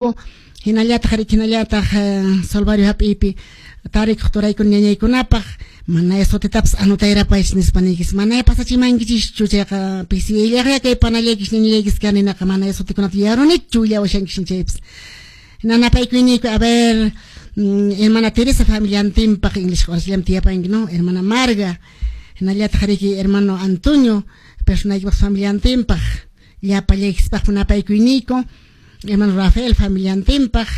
Hinallataq riki hinallataq Solvario hap'iypi tarikuq turaykuna ñañaykunapaq mana sutitapas anutayrapaychis nispa niykis mana pasachimankichischu chayqa pisiyayllaqya kay panallaykis ñañallaykis kaninaqa mana sutikunata yarunichu willawashankis chaypas nanapaykuyniyku. A ver, hermana Teresa familiantinpaq, English orasllam tiyapanki, no, hermana Marga, hinallataq riki hermano Antonio personaykipaq familiantinpaq, llapallaykispaq napaykuyniyku. Hermano Rafael familiantinpaq.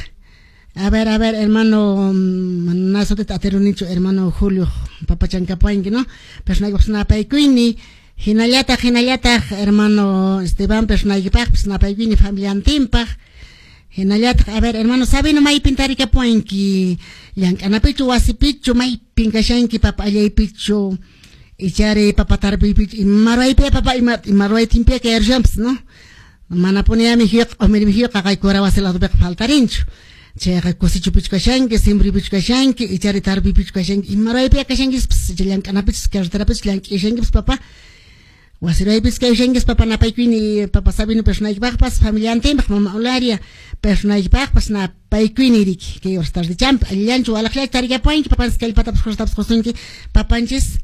A ver, a ver, hermano, mana sutita atirunichu, hermano Julio papachankapuanki, no, personaykipaq napaykuyni. Hinallataq, hinallataq hermano Esteban personaykipaqpis napaykuyni familiantinpaq. Hinallataq, a ver, hermano Sabino, maypin tarikapuanki? Llank'anapichu, wasipichu, maypin kashanki, papa allaypichu, ichari papa tarpuypichu, ima ruwaypi papa, ima ruwaytinpiya kayarushanpas, no? Manapuni mijuyqa, q'umir mijuyqa qaqay cura wasi ladopiqa faltarinchu. Chayqa kusichupichu kashanki, simbripichu kashanki, ichari tarpuypichu kashanki, ima ruwaypiya kashankispas, icha llank'anapichus, carreterapichus llank'ishankipis papa. Wasi ruwaypis kayushankis papa, napaykuyni papa Sabino personaykipaqpas familiantinpaq, mama Olaria personaykipaqpas napaykuyni riki. Kay horas tardechampi allillanchu walaqllachu tarikapuanki, papanchis kallpatapas fuerzatapas qusunki, papanchis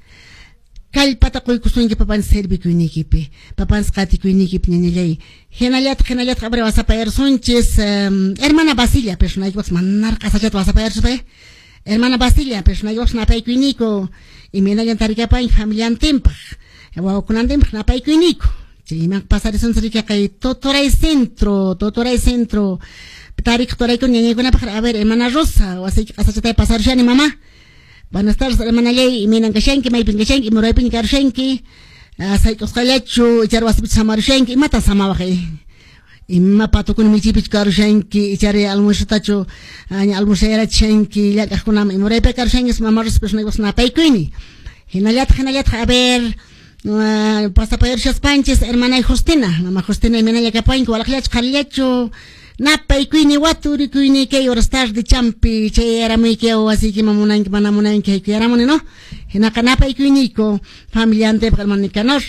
kallpata quykusunki papanchis servikuynikipi, papanchis qatikuynikipi, ñañallay. Hinallataq, hinallataq, abre wasapayarsunchis hermana Basilia personaykipaqpas, manaraq qasachata wasapayarsuspay. Hermana Basilia personaykipaqpas napaykuyniku, imaynallan tarikapuanki familiantinpaq, wawakunantinpaq napaykuyniku. Chayman pasarisunchis riki kay Totoray Centro, Totoray Centro tarikuq turaykuna ñañaykunapaq. A ver, hermana Rosa, wasiyki qasachatay pasarushani, mamá. Buenas tardes, hermanallay, imaynan kashanki, maypin kashanki, ima ruwaypiña karushanki, sayk'usqallachu, ichari wasipichu samarushanki, imatan samawaq? Ima patukuna michiypichu karushanki, ichari almuerzotachu ña almuerzayarachishanki llank'aqkunaman, ima ruwaypi karushanki, mama Rosa personaykipaq napaykuyni. Hinallataq, hinallataq, a ver, pasapayarishaspanchis hermanay Justina, mama Justina, imaynalla kapuanki, walaqllachu, qharillachu, napaykuyni, waturikuyni kay horas tarde champi chayaramuyki wasiykiman, munanki mana munanki haykuyaramuni, no? Hinaqa napaykuyniyku familiantipaq, hermano Nicanor.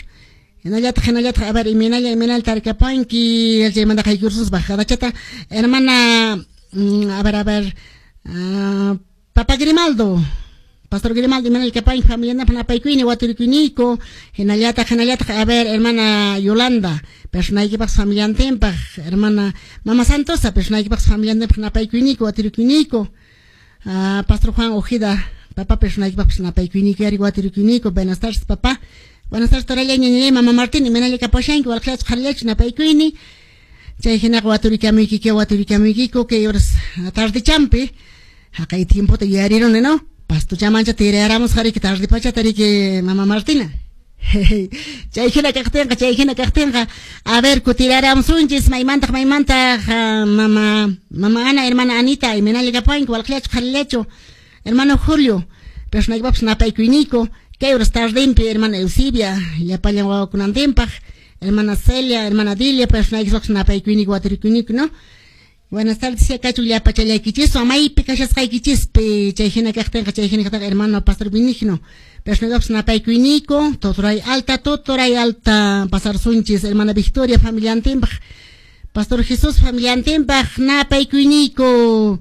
Hinallataq, hinallataq, a ver, imaynalla, imaynalla tarikapuanki. Chaymanta haykursunchis bajadachata hermana, a ver, a ver, papa Grimaldo, Pastor Grimaldo, imaynalla kapuanki, familianapaq napaykuyni, waturikuyniyku. Hinallataq, hinallataq, a ver, hermana Yolanda personaykipaq familiantinpaq, hermana mama Santosa personaykipaq familiantinpaq napaykuyniku, waturikuyniyku. Pastor Juan Ojeda papa personaykipaqpas napaykuyniku yari, waturikuyniyku. Buenas tardes, papá. Buenas tardes, toralla, ñañallay, mama Martín, imaynalla kapuashanki, walaqllachu, qharillachu, napaykuyni. Chay hinaqa waturikamuykiku, waturikamuykiku kay horas tardechampi. Haqay tiempota yuyariruni, no, pastochamancha tirayaramusqa riki tarde pachata riki, mama Martina. Chay hina kaqtinqa, chay hina kaqtinqa, a ver, kutiraramusunchis. Maymantaq, maymantaq, mama Ana, hermana Anita, imaynalla kapuanki, walaqllachu, qharillachu, hermano Julio personaykipaqpas napaykuyniku kay horas tardempi, hermana Eusebia llapallan wawakunantinpaq, hermana Celia, hermana Dilia personaykipaqpas napaykuyniku, waturikuyniku, no? Buenas tardes, kachu llapachallaykichiswan maypi kashasqaykichispi. Chay hina kaqtinqa, chay hina kaqtinqa, hermano Pastor Benigno personaykipaqpas napaykuyniku. Totoray Alta, Totoray Alta pasarsunchis, hermana Victoria familiantinpaq, Pastor Jesús familiantinpaq napaykuyniku.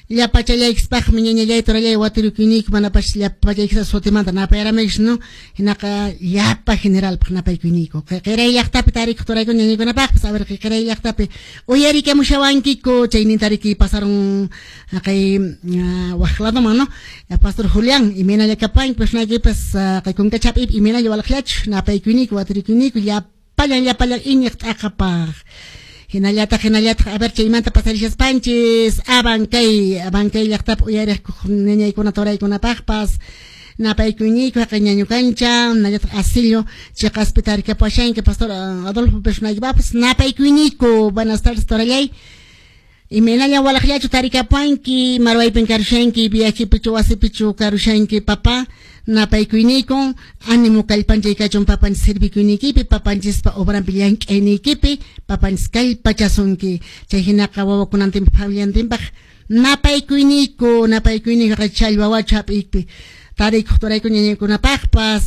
Llapachallaykispaqmi, ñañallay, torallay, waturikuyniku. Manapas llapachaykispas sutimanta napayaramaykish, no? Hinaqa llapa generalpaq napaykuyniku. Qiray llaqtapi tarikuq turaykuna ñañaykunapaqpas. A ver, qiray llaqtapi uyarikamushawankiku, chayninta riki pasaron kay waq ladoman, no? Pastor Julián, imaynalla kapuanki, personaykipas kay kunkachapi, imaynalla, walaqllachu, napaykuyniku, waturikuyniku llapallan, llapallan iñiq t'aqapaq. Hinallataq, hinallataq, a ver, chaymanta pasarishaspanchis Abancay, Abancay llaqtapi uyariq ñañaykuna turaykunapaqpas napaykuyniku. Haqay ñañu kancha, hinallataq asillo chiqaspi tarikapuashanki, Pastor Adolfo personaykipaqpas napaykuyniku. Buenas tardes, torallay, imaynalla, walaqllachu tarikapuanki, marwaypin karushanki, viajepichu, wasipichu karushanki, papa, napaykuyniku. Ánimo, kallpanchay kachun papanchis servikuynikipi, papanchispa obranpi llank'ayniykipi, papanchis kallpachasunki. Chay hinaqa wawakunantinpaq familiantinpaq napaykuyniku, napaykuyniku. Challwa wachu hap'iypi tarikuq turayku ñañaykunapaqpas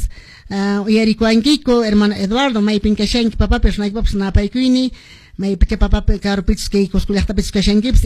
uyarikuwankiku, hermano Eduardo, maypin kashanki, papa, personaykipaqpas napaykuyni. Maypicha papapi karupichus kay Cusco llaqtapichus kashankipis.